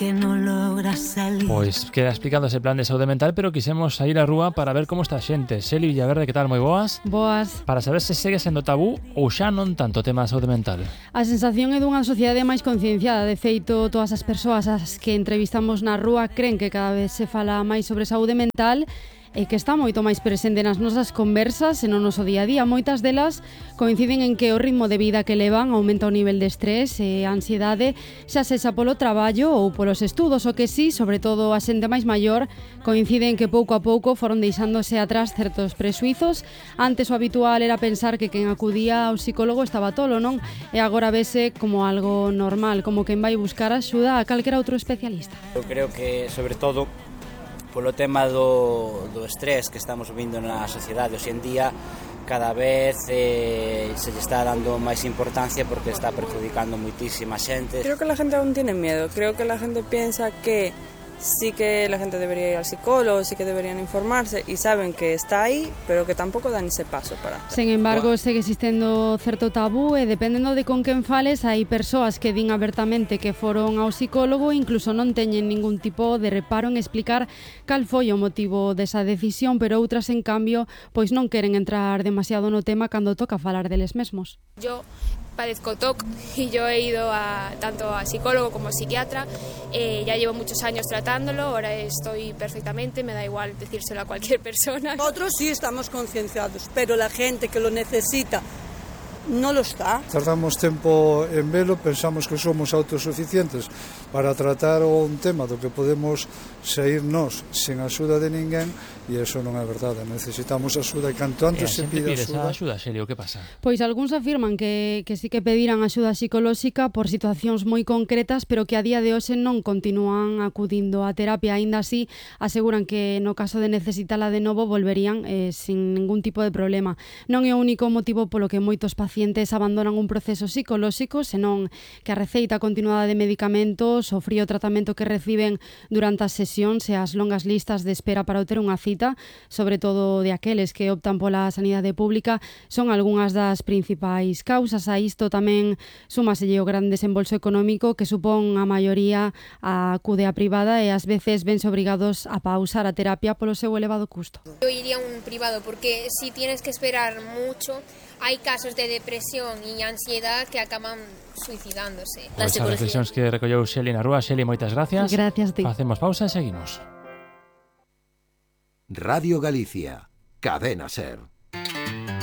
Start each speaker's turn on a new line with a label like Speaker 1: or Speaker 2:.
Speaker 1: que no logras salir.
Speaker 2: Pois queda explicado ese plan de saúde mental, pero quisemos sair á rúa para ver como está a xente. Xeli Villaverde, que tal? Moi boas.
Speaker 3: Boas.
Speaker 2: Para saber se segue sendo tabú ou xa non tanto o tema da saúde mental.
Speaker 3: A sensación é dunha sociedade máis concienciada. De feito, todas as persoas as que entrevistamos na rúa cren que cada vez se fala máis sobre saúde mental e que está moito máis presente nas nosas conversas e no noso día a día. Moitas delas coinciden en que o ritmo de vida que levan aumenta o nivel de estrés e a ansiedade, xa sexa polo traballo ou polos estudos, o que sí, sobre todo a xente máis maior, coincide en que pouco a pouco foron deixándose atrás certos presuizos. Antes o habitual era pensar que quen acudía ao psicólogo estaba tolo, non? E agora vese como algo normal, como quen vai buscar axuda a calquera outro especialista.
Speaker 4: Eu creo que, sobre todo, polo tema do estrés que estamos vivindo na sociedade hoxe en día, cada vez se lle está dando máis importancia porque está perjudicando moitísima xente.
Speaker 5: Creo que la gente aún tiene miedo, creo que la gente piensa que sí que la gente debería ir al psicólogo, sí que deberían informarse y saben que está ahí, pero que tampouco dan ese paso para.
Speaker 3: Sen embargo, segue existendo certo tabú e dependendo de con quen fales, hai persoas que din abertamente que foron ao psicólogo e incluso non teñen ningún tipo de reparo en explicar cal foi o motivo desa decisión, pero outras, en cambio, pois non queren entrar demasiado no tema cando toca falar deles mesmos.
Speaker 6: Yo padezco TOC y yo he ido tanto a psicólogo como a psiquiatra, ya llevo muchos años tratándolo, ahora estoy perfectamente, me da igual decírselo a cualquier persona.
Speaker 7: Nosotros sí estamos concienciados, pero la gente que lo necesita no lo está.
Speaker 8: Tardamos tempo en velo, pensamos que somos autosuficientes para tratar un tema do que podemos sair nós sen axuda de ninguén, e iso non é verdade. Necesitamos axuda e canto antes se pide
Speaker 2: axuda, Xelio, que pasa?
Speaker 3: Pois algúns afirman que sí que pediran axuda psicolóxica por situacións moi concretas, pero que a día de hoxe non continúan acudindo á terapia. Aínda así, aseguran que no caso de necesitala de novo volverían sin ningún tipo de problema. Non é o único motivo polo que moitos pacientes abandonan un proceso psicolóxico, senón que a receita continuada de medicamentos, o frío tratamento que reciben durante as sesións e as longas listas de espera para obter unha cita, sobre todo de aqueles que optan pola sanidade pública, son algunhas das principais causas. A isto tamén súmaselle o gran desembolso económico que supón a maioría acude á privada e ás veces vense obrigados a pausar a terapia polo seu elevado custo.
Speaker 6: Yo iría a un privado porque si tienes que esperar mucho, hay casos de depresión y ansiedad que acaban suicidándose.
Speaker 2: Pois as reflexións que recolleu Xeli na rúa. Xeli, moitas gracias.
Speaker 3: Gracias a ti.
Speaker 2: Facemos pausa e seguimos.
Speaker 9: Radio Galicia, Cadena SER.